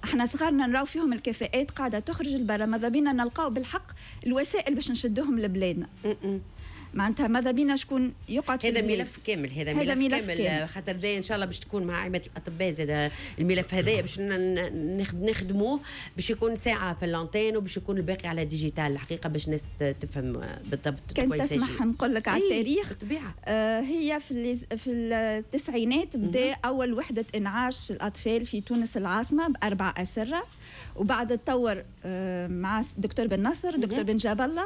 احنا صغارنا نراو فيهم الكفاءات قاعدة تخرج لبرا، ماذا بينا نلقاو بالحق الوسائل باش نشدوهم لبلادنا. معناتها ماذا بينا شكون يقعد في هذا البلاد. ملف كامل هذا، هذا ملف ملف كامل، كامل. خاطر ذا ان شاء الله باش تكون مع عماده الاطباء زاد الملف هذايا باش نخدموه باش يكون ساعة في l'antenne وباش يكون الباقي على digital، الحقيقة باش الناس تفهم بالضبط. كان كويس. تسمح نقول لك على التاريخ. بالطبيعه. هي في التسعينات بدا اول وحده انعاش الاطفال في تونس العاصمة باربع اسره، وبعد تطور مع دكتور بن نصر، دكتور بن جاب الله،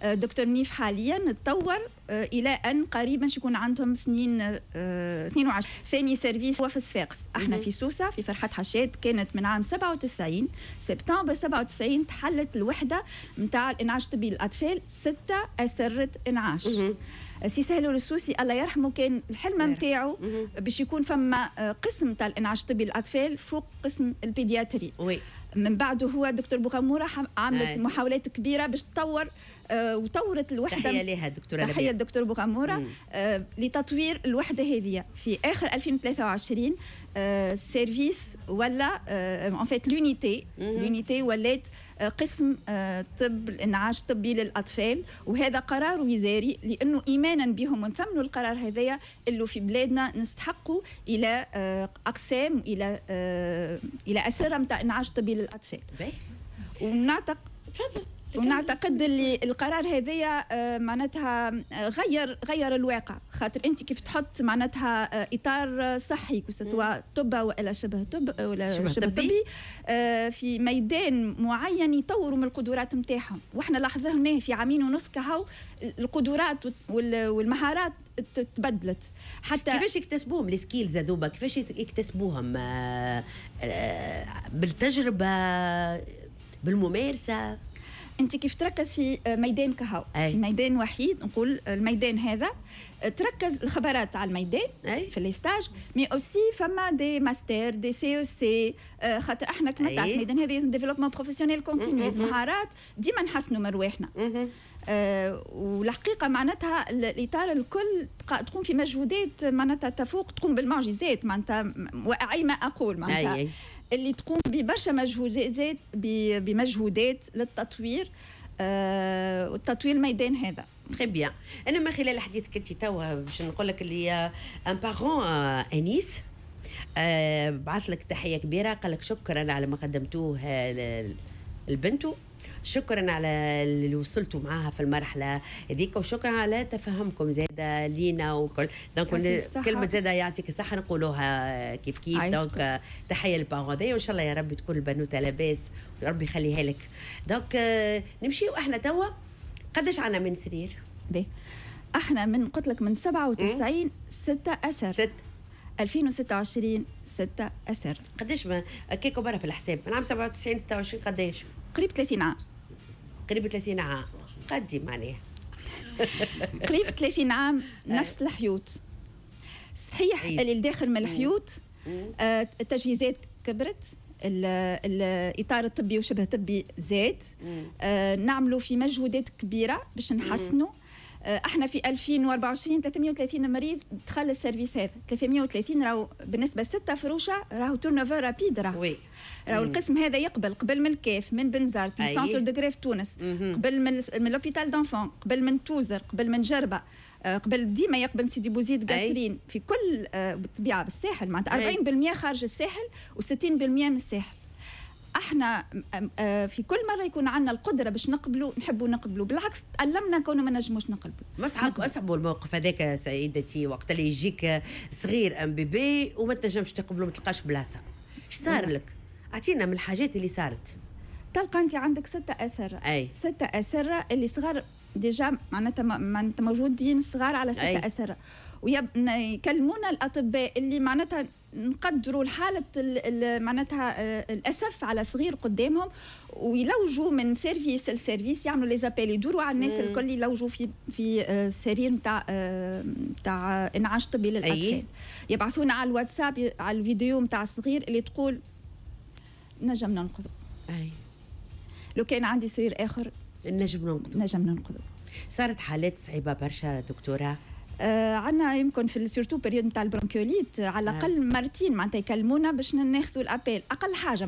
دكتور نيف، حاليا تطور الى ان قريبا يكون عندهم 22. ثاني service هو في صفاقس. احنا في سوسة في فرحات حشاد كانت من عام 97، سبتمبر 97 تحلت الوحدة نتاع الانعاش الطبي للاطفال، ستة اسره انعاش. سي سهلول السوسي الله يرحمه كان الحلم نتاعو باش يكون فما قسم تاع الانعاش الطبي للاطفال فوق قسم ال pédiatrie. من بعده هو دكتور بوغموره عملت محاولات كبيرة باش تطور وطورت الوحده. تحية لها دكتوره. تحية الدكتور بوغموره لتطوير الوحدة هذه. في اخر 2023 service ولا en fait l'unité ولات قسم طب الانعاش الطبي للاطفال، وهذا قرار وزاري لانه ايمانا بهم ونثمنوا القرار هذايا اللي في بلادنا نستحقوا الى اقسام، الى اسره نتاع انعاش طبي للاطفال. ونعتقد تفضل. ونعتقد اللي القرار هذايا معناتها غير الواقع، خاطر انت كيف تحط معناتها اطار صحي سواء طب والا شبه طب ولا شبه طبي في ميدان معين يطوروا من القدرات نتاعهم، واحنا لاحظناه في عامين ونص كهو القدرات والمهارات تبدلت. حتى كيفاش يكتسبوهم les skills هذوما؟ كيفاش يكتسبوهم؟ بالتجربه، بالممارسه؟ انت كيف تركز في ميدان كهو، في ميدان وحيد، نقول الميدان هذا تركز الخبرات على الميدان في les stages، mais aussi فما des mastères، des CEC، خاطر احنا كما تعرف الميدان هذا لازم développement professionnel continu، مهارات ديما نحسنوا من رواحنا. والحقيقة معناتها الاطار الكل تقوم في مجهودات معناتها تفوق، تقوم بالمعجزات معناتها، واعي ما اقول معناتها اللي تقوم ببرشا مجهودات بمجهودات للتطوير والتطوير الميدان هذا. très bien. انا من خلال حديثك انت توا باش نقول لك اللي un parent انيس بعث لك تحية كبيره، قال لك شكرا على ما قدمتوه لبنته، شكرا على اللي وصلتوا معاها في المرحلة هذيك، وشكرا على تفهمكم زاده لينا وكل. donc كلمة زاده يعطيك الصحة نقولوها كيف كيف. donc تحية لل parent وان شاء الله يا ربي تكون البنوته لاباس وربي يخليها لك. donc نمشيو احنا توا، قداش عندنا من سرير؟ باهي، احنا من قلت لك من 97 ستة أسر. ست. 2026 ستة أسر. قداش ما كيكو برا في الحساب، من عام 97 26 قداش؟ قريب 30 عام. قريب 30 عام، قدي معناها. قريب 30 عام نفس الحيوط. صحيح اللي الداخل من الحيوط التجهيزات كبرت، الاطار الطبي وشبه طبي زاد، نعملوا في مجهودات كبيرة باش نحسنوا. احنا في 2024 330 مريض دخل ال service هذا، 330 راهو بالنسبة لستة فروشه راهو turnover rapide. راهو القسم هذا يقبل قبل من الكاف، من بنزرت، من centre de greffe تونس، قبل من l'hôpital d'enfants، قبل من توزر، قبل من جربه، قبل ديما يقبل سيدي بوزيد، قصرين، في كل بالطبيعة بالساحل، معناتها 40% خارج الساحل و60% من الساحل. احنا في كل مرة يكون عندنا القدرة باش نقبلوا نحبوا نقبلوا، بالعكس تألمنا كونه ما نجموش نقبلوا. ما اصعب الموقف هذاك سيدتي، وقت اللي يجيك صغير un bébé وما تنجمش تقبله، ما تلقاش بلاصه، ايش صار لك؟ اعطينا من الحاجات اللي صارت. تلقى انت عندك ستة أسرة، ستة أسرة اللي صغار déjà، معناتها موجودين صغار على ستة أسرة، ويكلمونا الأطباء اللي معناتها نقدروا الحالة معناتها الأسف على صغير قدامهم، ويلوجوا من service ل service، يعملوا les appels، يدوروا على الناس الكل، يلوجوا في سرير نتاع انعاش طبي للأطفال. يبعثونا على الواتساب على الفيديو نتاع الصغير اللي تقول نجم ننقذه. لو كان عندي سرير اخر نجم ننقذه. نجم ننقذه. صارت حالات صعيبة برشا دكتوره؟ عندنا يمكن في surtout période نتاع ال bronchiolite على الاقل مرتين معناتها يكلمونا باش ناخذوا l'appel اقل حاجه.